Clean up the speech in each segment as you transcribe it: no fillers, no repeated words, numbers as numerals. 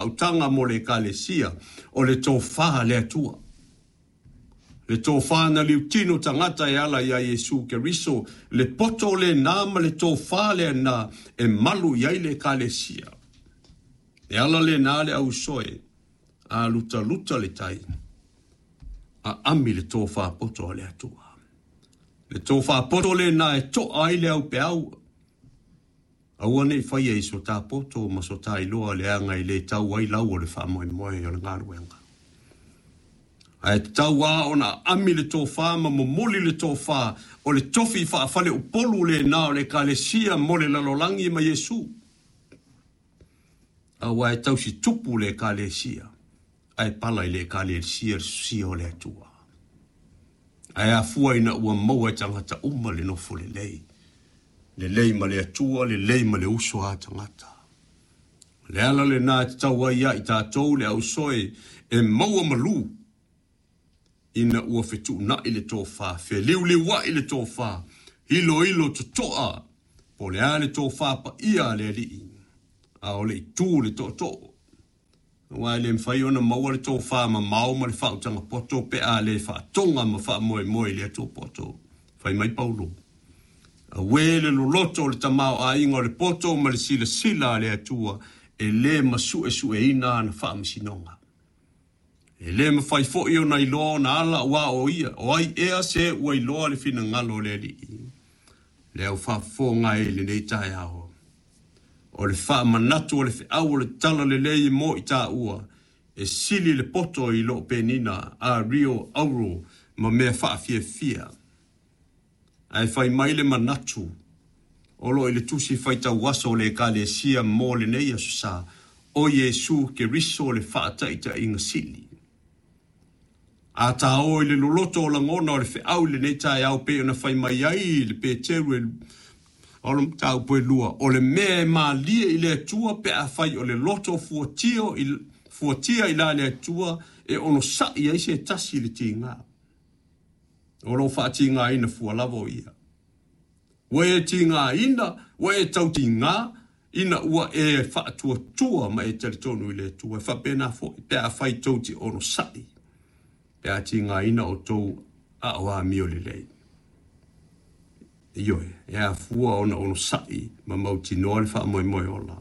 Autaga mo le Ekalesia, o le tofa a le Atua. Le tofa na liutino tagata e ala iā Iesu Keriso, le poto lena ma le tofa lena e malu i ai le Ekalesia. E ala lena le ausoe, a lutaluta le tai, aami le tofa poto a le Atua. Le tofa poto lena e to'a ai le aupeau. Aua ne i faia i so ta poto ma so ta iloa leaga e le tau ai lau o le faamoemoe o le galuega. Ae tatau lava ona aami le tofa ma momoli le tofa o le tofi faafaleupolu lena o le Ekalesia mo le lalolagi ma Iesu. Aua e tausi tupu le Ekalesia, ae pala i le Ekalesia le sosia o le Atua. Ae afua ina ua maua e tagata uma le nofo lelei, lelei ma le Atua, lelei ma le uso a tagata. O le ala lena e tatau ai ia i tatou le ausoe e maua malu ina ua fetuunai le tofa, feliuliuai le tofa, iloilo totoa po o le a le tofa paia a le Alii, a o le i tu le tootoo. Aua e le mafai ona maua le tofa mamao ma le faautaga poto pe a le faatoga ma faamoemoe i le Atua poto. Fai mai Paulo, Auē le loloto o le tamaoaiga o le poto ma le silasila a le Atua e le masuesueina ana faamasinoga. E le mafai foi ona iloa ona ala aua o ia, o ai ea se ua iloa le finagalo o le Alii? Le au faafofoga e i lenei taeao. O le faamanatu o le feau o le talalelei e mo i taua, e sili le poto i loo penina a rio auro ma mea faafiafia. Ae fai mai le manatu o lo o i le tusi faitau aso o le Ekalesia mo lenei aso sa, o Iesu Keriso le faataitaiga sili. A tāo i le loloto o lagona o le feau i lenei taeao pei ona fai mai ai le Peteru e o le mataupu e lua, o le mea e malie i le Atua pe afai o le loto fuatio i, fuatia i la le Atua e onosaʻi ai se tasi i le tiga. O lo o faatigaina fua lava o ia. Ua e tigaina, ua e tautiga, ina ua e faatuatua ma e talitonu i le Atua. E faapena foi pe afai tou te onosai, pe a tigaina outou aao amio lelei. Ioe, e afua ona onosai ma mautinoa le faamoemoe ola,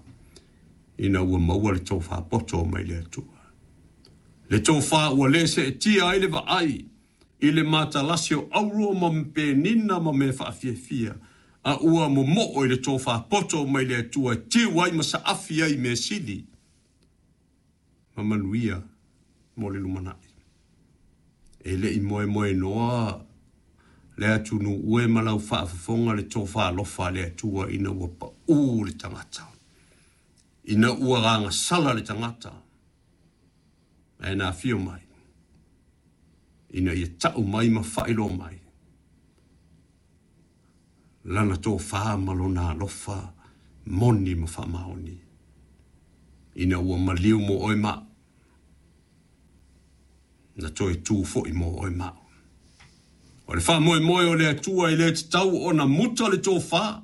ina ua maua le tofa poto mai le Atua. Le tofa ua le seetia ai le vaai i le matalasi o auro ma penina ma mea faafiafia, a ua momoo i le tofa poto mai le Atua e tiu ai ma saafi ai mea sili ma manuia mo le lumanai. E le i moemoenoa le atunuu e ma lau faafofoga le tofa alofa a le Atua ina ua paū le tagata, ina ua agasala le tagata, ae na afio mai ina ia tau mai ma faailoa mai lana tofa ma lona alofa moni ma faamaoni, ina ua maliu mo oe ma au, na toe tu foi mo oe ma au. O le faamoemoe o le Atua e le tatau ona muta le tofa,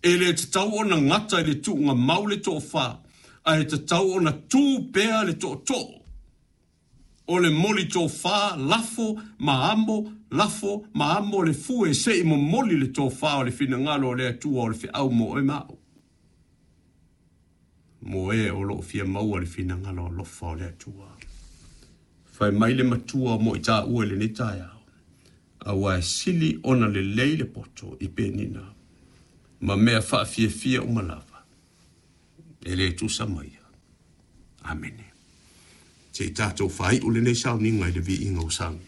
e le tatau ona gata i le tuuga mau le tofa, ae tatau ona tu pea le tootoo. O le moli tofa, lafo ma amo, lafo ma amo le fue se i momoli le tofa o le finagalo o le Atua o le feau mo oe ma au. Mo e o lo o fia maua le finagalo alofa o le Atua. Fai mai le matua mo i taua i lenei taeao, aua e sili ona lelei le poto i penina ma mea faafiafia uma lava, e le tusa ma ia. Amene. Se i tatou faaiu lenei sauniga i le viiga o sauni.